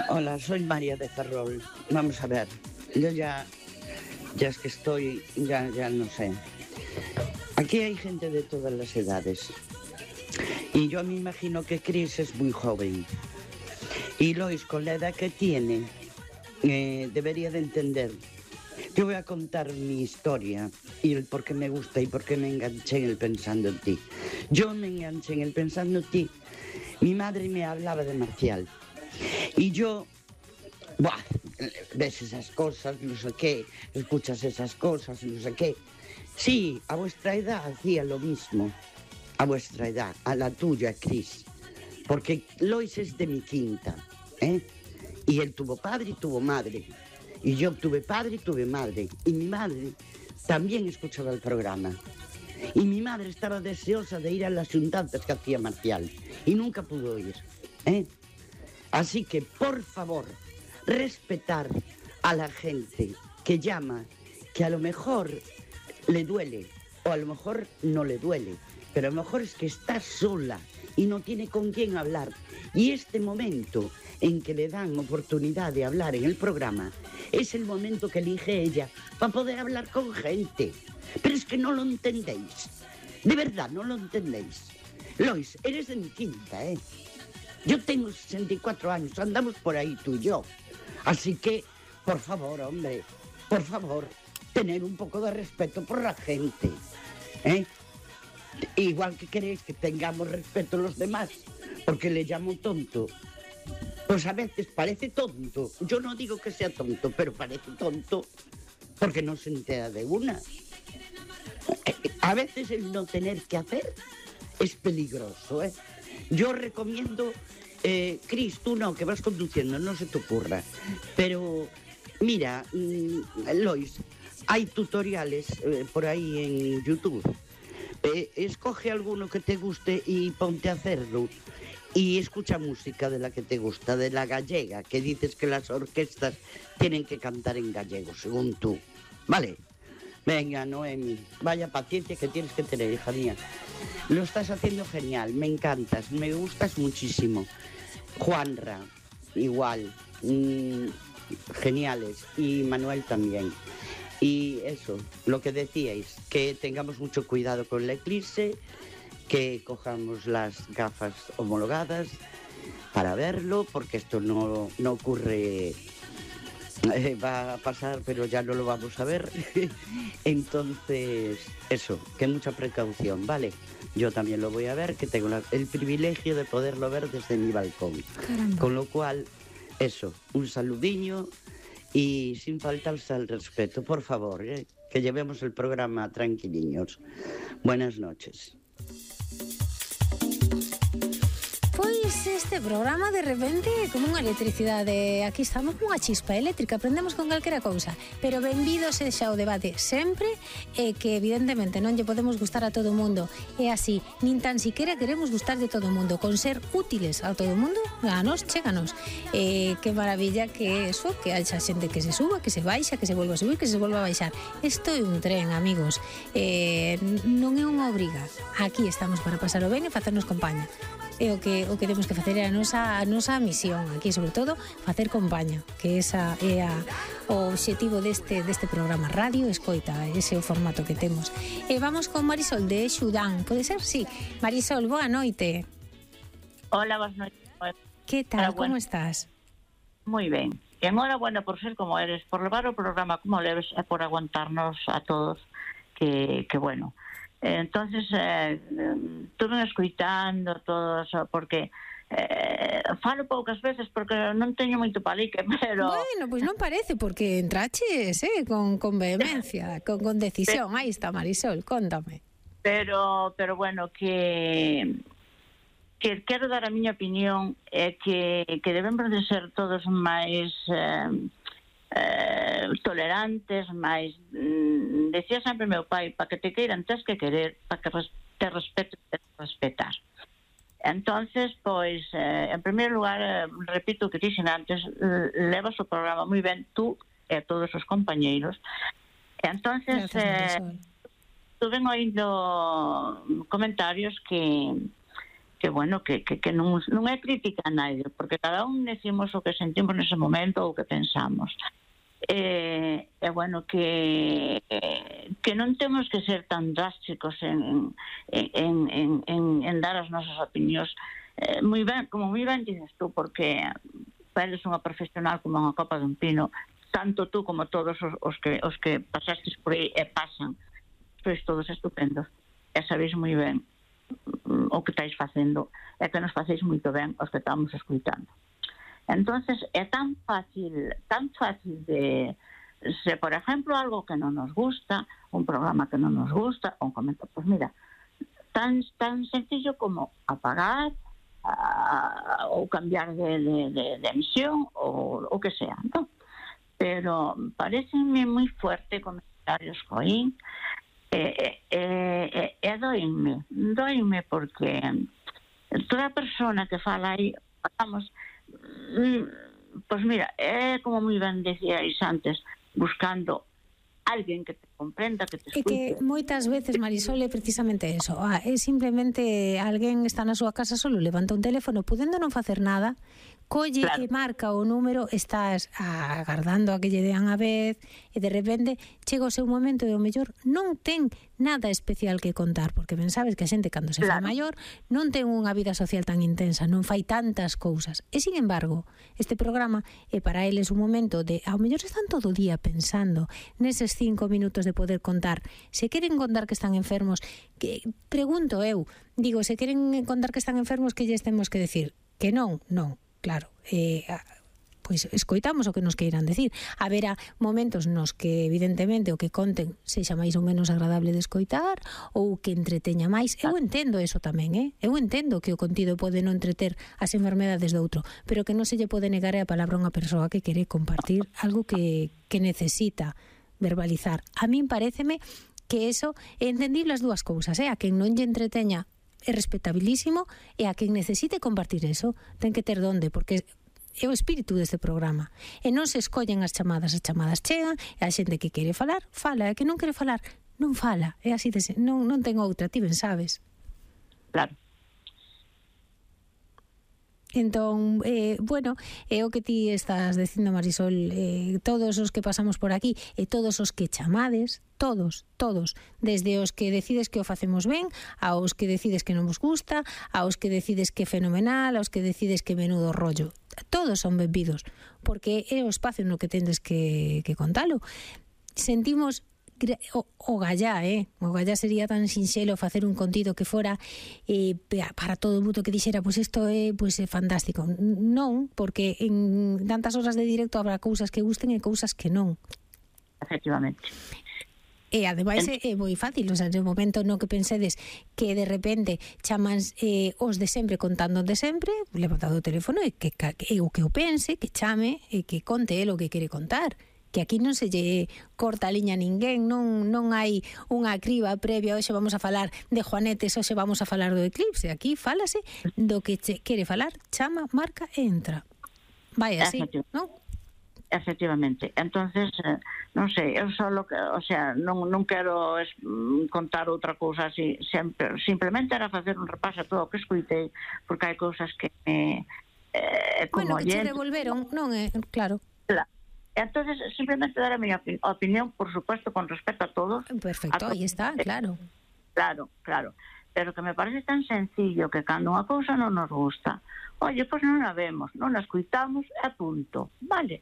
Hola, soy María de Ferrol. Vamos a ver, yo ya es que estoy, ya no sé. Aquí hay gente de todas las edades. Y yo me imagino que Chris es muy joven. Y Lois, con la edad que tiene, debería de entender. Yo voy a contar mi historia y el por qué me gusta y por qué me enganché en el Pensando en ti. Yo me enganché en el Pensando en ti. Mi madre me hablaba de Marcial. Y yo, ves esas cosas, no sé qué, escuchas esas cosas, no sé qué. Sí, a vuestra edad hacía lo mismo. A vuestra edad, a la tuya, Chris. Porque Lois es de mi quinta, ¿eh? Y él tuvo padre y tuvo madre. Y yo tuve padre y tuve madre. Y mi madre también escuchaba el programa. Y mi madre estaba deseosa de ir a las juntanzas que hacía Marcial. Y nunca pudo ir, ¿eh? Así que, por favor, respetar a la gente que llama, que a lo mejor le duele, o a lo mejor no le duele, pero a lo mejor es que está sola y no tiene con quién hablar. Y este momento en que le dan oportunidad de hablar en el programa es el momento que elige ella para poder hablar con gente. Pero es que no lo entendéis. De verdad, no lo entendéis. Lois, eres de mi quinta, ¿eh? Yo tengo 64 años, andamos por ahí tú y yo. Así que, por favor, hombre, por favor, tener un poco de respeto por la gente, ¿eh? Igual que queréis que tengamos respeto a los demás, porque le llamo tonto. Pues a veces parece tonto. Yo no digo que sea tonto, pero parece tonto porque no se entera de una. A veces el no tener que hacer es peligroso, ¿eh? Yo recomiendo, Cris, tú no, que vas conduciendo, no se te ocurra. Pero, mira, Lois, hay tutoriales por ahí en YouTube. Escoge alguno que te guste y ponte a hacerlo. Y escucha música de la que te gusta, de la gallega, que dices que las orquestas tienen que cantar en gallego, según tú. ¿Vale? Venga, Noemi, vaya paciencia que tienes que tener, hija mía. Lo estás haciendo genial, me encantas, me gustas muchísimo. Juanra, igual, geniales. Y Manuel también. Y eso, lo que decíais, que tengamos mucho cuidado con la eclipse, que cojamos las gafas homologadas para verlo, porque esto no ocurre, va a pasar, pero ya no lo vamos a ver. Entonces, eso, que mucha precaución, ¿vale? Yo también lo voy a ver, que tengo el privilegio de poderlo ver desde mi balcón. Caramba. Con lo cual, eso, un saludiño y sin faltarse al respeto, por favor, que llevemos el programa tranquiliños. Buenas noches. Pois este programa de repente como unha electricidade. Aquí estamos cunha chispa eléctrica, aprendemos con calquera cousa. Pero benvido sexa o debate sempre, que evidentemente non lle podemos gustar a todo o mundo. É así, nin tan siquiera queremos gustar de todo o mundo. Con ser útiles a todo o mundo, a nos, chéganos. Que maravilla que eso, que haxa xente que se suba, que se baixa, que se volva a subir, que se volva a baixar. Isto é un tren, amigos. Non é unha obriga. Aquí estamos para pasar o ben e facernos compañía. É o que temos que facer, é a nosa misión aquí, sobre todo, facer compaña, que esa é o obxectivo deste programa radio escoita, ese é o formato que temos. E vamos con Marisol de Xudán, pode ser? Sí. Marisol, boa noite. Hola, boas noites. Que tal, como estás? Moi ben. E enhorabuena por ser como eres, por levar o programa como leves e por aguantarnos a todos, que bueno. Entonces estuve escuitando todo eso, porque falo poucas veces porque non teño moito palique, pero... Bueno, pois non parece, porque entraches con vehemencia, con decisión. Aí está, Marisol, cóntame. Pero bueno, que quero dar a miña opinión, é que debemos de ser todos máis... tolerantes, máis decía sempre meu pai, para que te queiran tens que querer, para que te respeten tens que respetar. Entonces, pois en primeiro lugar, repito o que dixen antes, levas o programa moi ben tú e todos os compañeiros. Entonces, estuve oindo comentarios que bueno, que non é crítica a nadie, porque cada un decimos o que sentimos nese momento ou o que pensamos. Bueno, que non temos que ser tan drásticos en dar as nosas opinións. Moi ben, como moi ben dices tú, porque eres unha profesional como unha copa dun pino, tanto tú como todos os que pasastes por aí e pasan, sois todos estupendos, e sabéis moi ben o que estáis facendo, e que nos facéis moito ben os que estamos escuitando. Entonces é tan fácil de, se por ejemplo algo que non nos gusta, un programa que non nos gusta, un comentario, pues mira, tan sencillo como apagar ou cambiar de emisión ou o que sea, ¿no? Pero parecenme moi fuerte comentarios coín, doime porque toda persona que fala aí, vamos, pues mira, é como moi ben decíais antes, buscando alguén que te comprenda, que te escute. E que moitas veces, Marisol, é precisamente eso. É simplemente alguén está na súa casa solo, levanta un teléfono, podendo non facer nada, colle e marca o número, estás agardando a que lle dean a vez, e de repente chega o seu momento e o mellor non ten nada especial que contar, porque ben sabes que a xente cando se fai maior non ten unha vida social tan intensa, non fai tantas cousas. E sin embargo, este programa é para eles un momento de, ao mellor están todo o día pensando neses 5 minutos de poder contar. Se queren contar que están enfermos, que pregunto eu, digo, se queren contar que están enfermos, que lles temos que decir? Que non, claro, pois escoitamos o que nos queiran decir. Haberá momentos nos que evidentemente o que conten sexa máis ou menos agradable de escoitar ou que entreteña máis. Eu entendo eso tamén, eu entendo que o contido pode non entreter as enfermedades do outro, pero que non se lle pode negar a palabra a unha persoa que quere compartir algo que necesita verbalizar. A min paréceme que eso é entendible as dúas cousas, a quen non lle entreteña é respetabilísimo, e a quen necesite compartir eso ten que ter donde, porque é o espírito deste programa, e non se escollen as chamadas chegan, e a xente que quere falar, fala, e a que non quere falar, non fala, é así de non ten outra, ti ben sabes. Claro. Entón, bueno, é o que ti estás dicindo, Marisol, todos os que pasamos por aquí e todos os que chamades, todos, desde os que decides que o facemos ben, aos que decides que non vos gusta, aos que decides que é fenomenal, aos que decides que menudo rollo, todos son benvidos, porque é o espacio no que tendes que contalo. Sentimos o gallá, o gallá sería tan sinxelo facer un contido que fora para todo o mundo que dixera, pois isto é fantástico. Non, porque en tantas horas de directo habrá cousas que gusten e cousas que non. Efectivamente. E ademais é moi fácil, o sea, no momento no que pensedes que de repente chaman os de sempre contando de sempre, levantado o teléfono e que o que o pense, que chame e que conte el o que quere contar. Que aquí non se lle corta a liña a ninguén, non hai unha criba previa, hoxe vamos a falar de Juanetes, hoxe vamos a falar do eclipse, aquí fálase do que quere falar, chama, marca e entra. Vai así, non? Efectivamente. Entonces, non sei, eu só non quero contar outra cousa así, simplemente era facer un repaso a todo o que escuitei, porque hai cousas que como que che devolveron, non é, claro. Entonces, simplemente dar a miña opinión, por supuesto, con respecto a todos. Perfecto, aí está, claro. Claro. Pero que me parece tan sencillo que cando unha cousa non nos gusta, oye, pois non a vemos, non a escuitamos, e punto, vale?